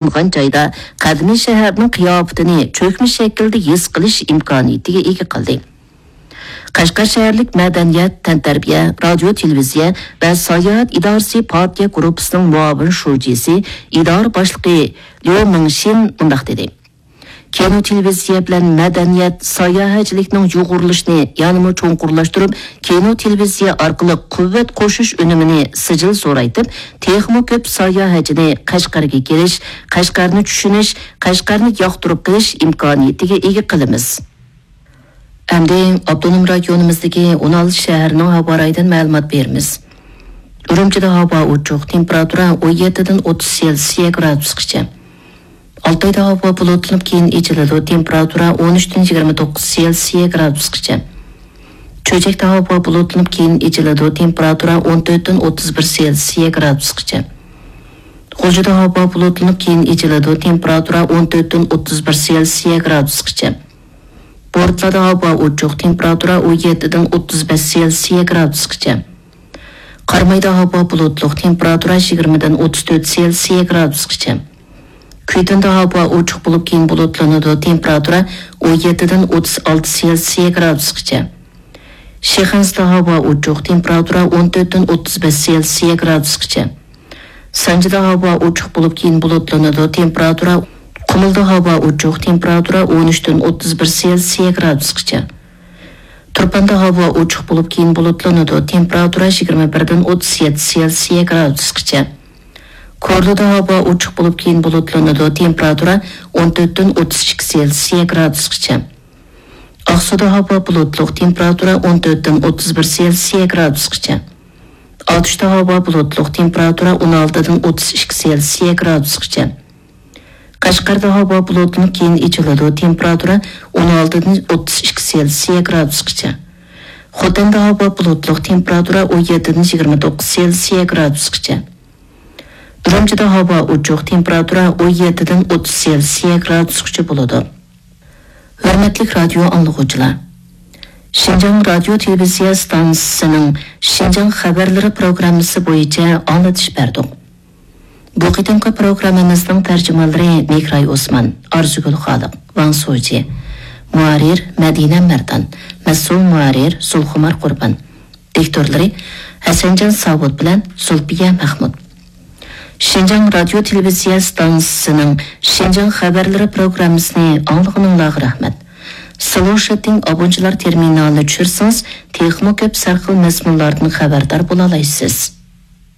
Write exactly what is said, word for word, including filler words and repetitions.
ئورۇنلاشقان جايدا قەدىمىي شەھەرنىڭ قىياپىتىنى چۆكمە شەكىلدە ھېس قىلىش ئىمكانىيىتىگە ئىگە قىلدى. قەشقەر شەھەرلىك مەدەنىيەت، تەنتەربىيە، رادىيو، تېلېۋىزىيە ۋە ساياھەت ئىدارىسى پارتىيە گۇرۇپپىسىنىڭ مۇئاۋىن شۇجىسى، ئىدارە باشلىقى ليۇ مىڭشىن مۇنداق دېدى: كىنو، تېلېۋىزىيە بىلەن مەدەنىيەت، ساياھەتچىلىكنىڭ يۇغۇرۇلۇشىنى يەنىمۇ چوڭقۇرلاشتۇرۇپ، كىنو، تېلېۋىزىيە ئارقىلىق قۇۋۋەت قوشۇش ئۈنۈمىنى سىجىل زورايتىپ، تېخىمۇ كۆپ ساياھەتچىنى قەشقەرگە كېلىش، قەشقەرنى چۈشىنىش، قەشقەرنى ياقتۇرۇپ قېلىش ئىمكانىيىتىگە ئىگە قىلىمىز. ئەمدى ئاپتونوم رايونىمىزدىكى ئون ئالتە شەھەرنىڭ ھاۋا رايىدىن مەلۇمات بېرىمىز. ئۈرۈمچىدە ھاۋا ئوچۇق، تېمپېراتۇرا ئون يەتتىدىن ئوتتۇز سېلسىيە گرادۇسقىچە. ئالتايدا ھاۋا بۇلۇتلىنىپ، كېيىن ئېچىلىدۇ، تېمپېراتۇرا ئون ئۈچتىن يىگىرمە توققۇز سېلسىيە گرادۇسقىچە. چۆچەكتە ھاۋا بۇلۇتلىنىپ، كېيىن ئېچىلىدۇ، تېمپېراتۇرا ئون تۆتتىن ئوتتۇز بىر سېلسىيە گرادۇسقىچە. غۇلجىدا ھاۋا بۇلۇتلىنىپ، كېيىن ئېچىلىدۇ، تېمپېراتۇرا ئون تۆتتىن ئوتتۇز بىر سېلسىيە گرادۇسقىچە. بورتالادا ھاۋا ئوچۇق، تېمپېراتۇرا ئون يەتتىدىن ئوتتۇز بەش سېلسىيە گرادۇسقىچە. قارامايدا ھاۋا بۇلۇتلۇق، تېمپېراتۇرا يىگىرمىدىن ئوتتۇز تۆت سېلسىيە گرادۇسقىچە. كۈيتۇندا ھاۋا ئوچۇق بولۇپ، كېيىن بۇلۇتلىنىدۇ، تېمپېراتۇرا ئون يەتتىدىن ئوتتۇز ئالتە سېلسىيە گرادۇسقىچە. شىخەنزىدە ھاۋا ئوچۇق، تېمپېراتۇرا ئون تۆتتىن ئوتتۇز بەش سېلسىيە گرادۇسقىچە. سانجىدا ھاۋا ئوچۇق بولۇپ، كېيىن بۇلۇتلىنىدۇ، تېمپېراتۇرا، قۇمۇلدا ھاۋا ئوچۇق، تېمپېراتۇرا ئون ئۈچتىن ئوتتۇز بىر سېلسىيە گرادۇسقىچە. تۇرپاندا ھاۋا ئوچۇق بولۇپ، كېيىن بۇلۇتلىنىدۇ، تېمپېراتۇرا يىگىرمە بىردىن ئوتتۇز يەتتە سېلسىيە گرادۇسقىچە. كورلىدا ھاۋا ئوچۇق بولۇپ، كېيىن بۇلۇتلىنىدۇ، تېمپېراتۇرا ئون تۆتتىن ئوتتۇز ئىككى سېلسىيە گرادۇسقىچە. ئاقسۇدا ھاۋا بۇلۇتلۇق، تېمپېراتۇرا ئون تۆتتىن ئوتتۇز بىر سېلسىيە گرادۇسقىچە. ئاتۇشتا ھاۋا بۇلۇتلۇق، تېمپېراتۇرا ئون ئالتىدىن ئوتتۇز ئىككى سېلسىيە گرادۇسقىچە. قەشقەردە ھاۋا بۇلۇتلىنىپ، كېيىن ئېچىلىدۇ، تېمپېراتۇرا ئون ئالتىدىن ئوتتۇز ئىككى سېلسىيە گرادۇسقىچە. خوتەندە ھاۋا بۇلۇتلۇق، تېمپېراتۇرا ئون يەتتىدىن يىگىرمە توققۇز سېلسىيە گرادۇسقىچە. ئۈرۈمچىدە ھاۋا ئوچۇق، تېمپېراتۇرا ئون يەتتىدىن ئوتتۇز سېلسىيە گرادۇسقىچە بولىدۇ. ھۆرمەتلىك رادىيو ئاڭلىغۇچىلار! شىنجاڭ رادىيو تېلېۋىزىيە ئىستانسىسىنىڭ شىنجاڭ خەۋەرلىرى پروگراممىسى بويىچە ئاڭلىتىش بەردۇق. بۇ قېتىمقى پروگراممىمىزنىڭ تەرجىمانلىرى مېھراي ئوسمان، ئارزۇگۈل خالىق، ۋاڭ سۇجى. مۇھەررىر مەدىنە مەردان. مەسئۇل مۇھەررىر زۇلخۇمار قۇربان. دىكتورلىرى ھەسەنجان ساۋۇت بىلەن زۇلپىيە مەخمۇت. شىنجاڭ رادىيو تېلېۋىزىيە ئىستانسىسىنىڭ شىنجاڭ خەۋەرلىرى پروگراممىسىنى ئاڭلىغىنىڭلارغا رەھمەت. سلوشىتىڭ ئابونچىلار تېرمىنالىنى چۈشۈرسىڭىز، تېخىمۇ كۆپ سەرخىل مەزمۇنلاردىن خەۋەردار بولالايسىز.